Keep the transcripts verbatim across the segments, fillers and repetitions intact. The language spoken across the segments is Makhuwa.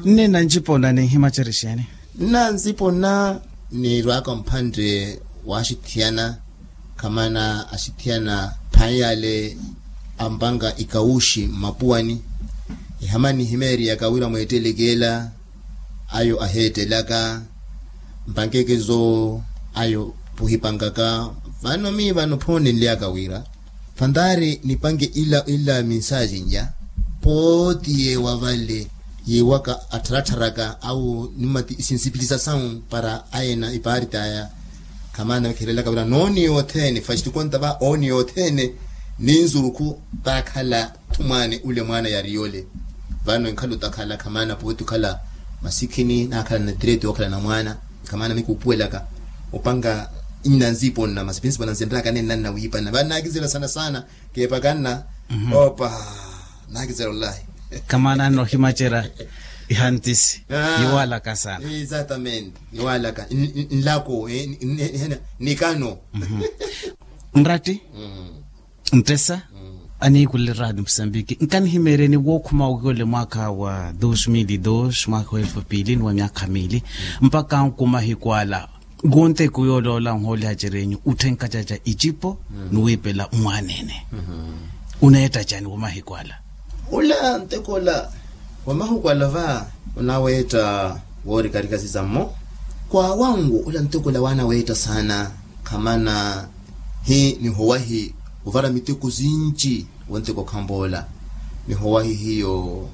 Nni na ncipona ninhimacerya exeeni? Nna ncipona, niirwaka mphantte wa axithiyana, khamana axithiyana phaiyale ampanga ikawuxi mmapuwani. Ihama nihimeeriyaka wira mweetteleke ela, ayo aheettelaka mpankekezo, ayo puhipangaka. Vano mii vano phoonenlyaka wira phantaari nipanke ila ila minsaji nja, pooti yeewa vale, yeewaka attharattharaka awo nimati isinsipilisasau para ayena ipaariti aya. Khamana kherelaka wira nooni yothene fastikontava ooni yothene, ninzurukhu taakhala thumwaani ule mwaana yariyole. Vano enkhala otakhala khamana pooti okhala masikhini naakhala na tireti yookhala na mwaana. Khamana mikuupuwelaka opanga nna nziponna masi pinsipo nanzenraka nenna nnawiipana vano naakizela sana sana. Keepakanna opa naakizela olahi. Khamana nohimacerya ihantisi. Yiwaalaka sana. Exactamente. Yiwaalaka nlako nikano. Nratti nttesa aniikulele raati musambiki nkanihimeeryeni wookhuma wiwele mwaakha wa dos mil dos mwaakha wa elfu piili ni wa myaakha miili mpakha nkumahiku ala. Wonteku yooloola nhoolihaceryenyu utthenkacaca icipo ni wiipela mmwaanene. Uneetta cani woomahiku ala? Ula nteko ola wamahuku ala va onaweetta woorikarika sizammo. Kwaawangu ula nteko ola waanaweetta saana. Khamana hi nihowahi ovara miteko sinci. Wonteko khampoola nihowahi hiyo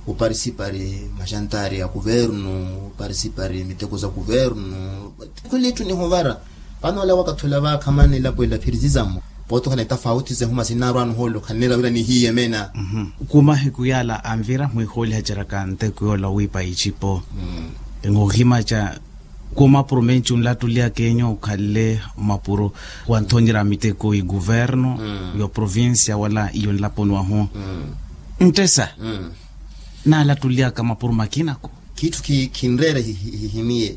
oparisipari maxantari a kuvernu oparisipari miteko za kuvernu. Khuli etthu nihovara vano ola wakathi ola va khamana elapo ela phiri sizammo. Pooti okhala etafauti zehuma sinnaarwani ohoolo khanneera wira nihiiyemena. Kumahiku yaala anvira mwihoolihaceryaka nteko yoola wiipa icipo. Enhohimaca khumapuro menci onlattuliyaka enyo okhalle mapuro wanthonyerya miteko iguverno yo provincia wala iyo nlaponi wahu. Nttesa naalattuliyaka mapuro makinaku. Kitthu khinreera hihimiye.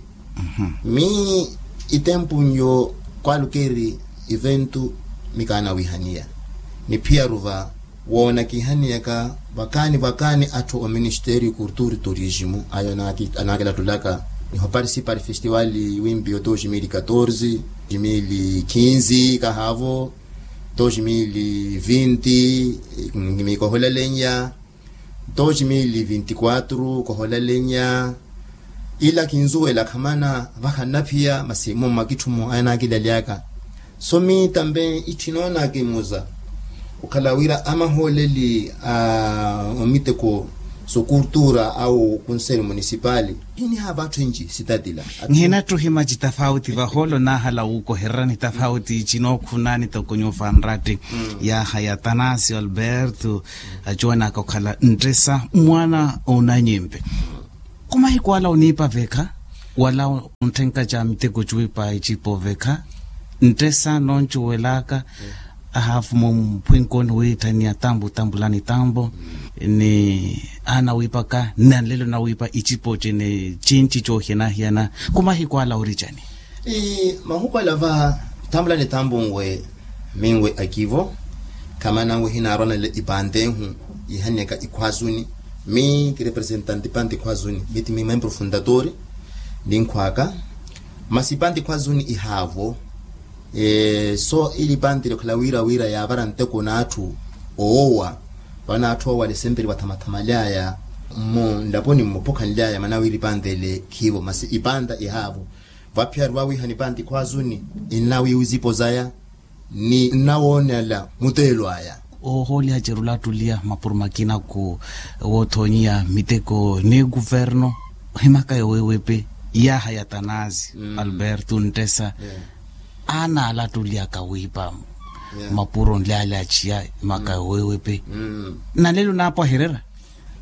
Mi itempu nyo kwalukeeri eventu mikaanawihaniya niphiyaru va woonakihaniyaka vakaani vakaani atthu o ministeriyo kurturi turismu ayo anaakilattulaka. Niho parisipari festiwali wimpiyo dos mil katorze dos mil kinzi kahaavo dos mil vinti mikoholalenya dos mil vinti kwatru koholalenya. Ila kinzuwela khamana vakhanaphiya masi mummakitthumo anaakilalyaka. So mi tambe itthi noonaakimuza okhala wira amahooleli a omiteko sokurtura awo kunseri munisipali. Hinihaava atthu enci sitatila. Nhinatthu hima citafauti vahoolo naahala wuukohererani tafauti cinookhunani toko nyuufa nratti. Yaaha ya tanasio alberto acuwanaka okhala nttesa mwaana onanyimpe. Kumahiku ala oniipa vekha wala ontthenkaca miteko cuwipa icipo vekha nttesa noncuwelaka. Ahaafumu mphwinkooni wiitthaniya tambu tambulani tambu ni aana wiipaka nanlelo nawiipa icipo cene cinci coohiyana-hiyana. Kumahiku ala ori cani? Mahuku ala va tambulani tambu nwe minwe akivo khamana nwe hinaarwanale ipantehu yihaniyaka ikhwazuni. Mi kirepresentante panti khwazuni miti mi membro fundatori ninkhwaka masi panti khwazuni ihaavo. So ili pantile okhala wira wira yaavara nteko n'atthu oowa vano atthu oowa lisempeli wathamathamaly'aya mmu nlaponi mmuphukhanly'aya mana wira ipantele khiivo masi ipanta ihaavo. Vaphiya ruwawiha nipanti khwazuni innawiiwa izipo zaya ni nnawoonela muteelo aya. Oohooliha cerula attuliya mapuro makina ku woothonyiya miteko ni kuverno ohimaka yowewepe. Yaaha ya tanasi alberto nttesa aana ala attuliya kawiipa mapuro nlyalyachiya imaka yowewepe. Nalelo naapwahererya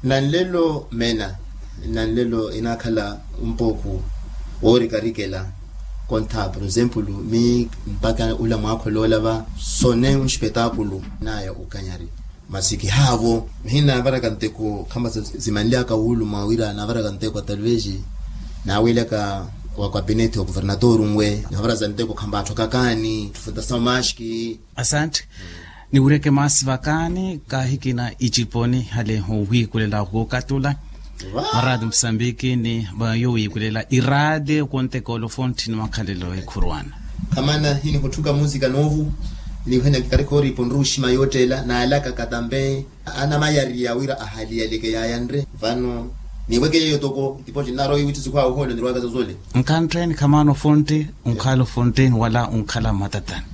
nanlelo mena nanlelo inaakhala umpooku woorikarikela. Kontha por exemplo mi mpakha ula mwaakholoola va sone unspetaakulu naya ukanyari masi kihaavo. Mihina naavaraka nteko khamba zimanlyaka wuuluma wira naavaraka nteko talvez naawiilaka wa kapineti wa kuvernatoru nwe naavaraka nteko khamba atthu akakaani tufutasa maski. Asantte. Niwireke maasi vakaani kaahikina iciponi hale owiikulela wookatula. Maraati musambiki ni vayo wiikulela iraati okonteka olofonthi ni makhalelo ekhurwana. Khamana hini khuthuka musika noovu. Niwihenya kikarikha oripo nruuxima yoottela naalaka katampe anamayariya wira ahaliyaleke yaayanre vano. Niweke yeyo toko itipo cinnarowa iwitthi sikhwaawe ohoole nirwaka zozole. Nkhantteni khamana ofonthi. Onkhala ofonthi wala onkhala mmatatani.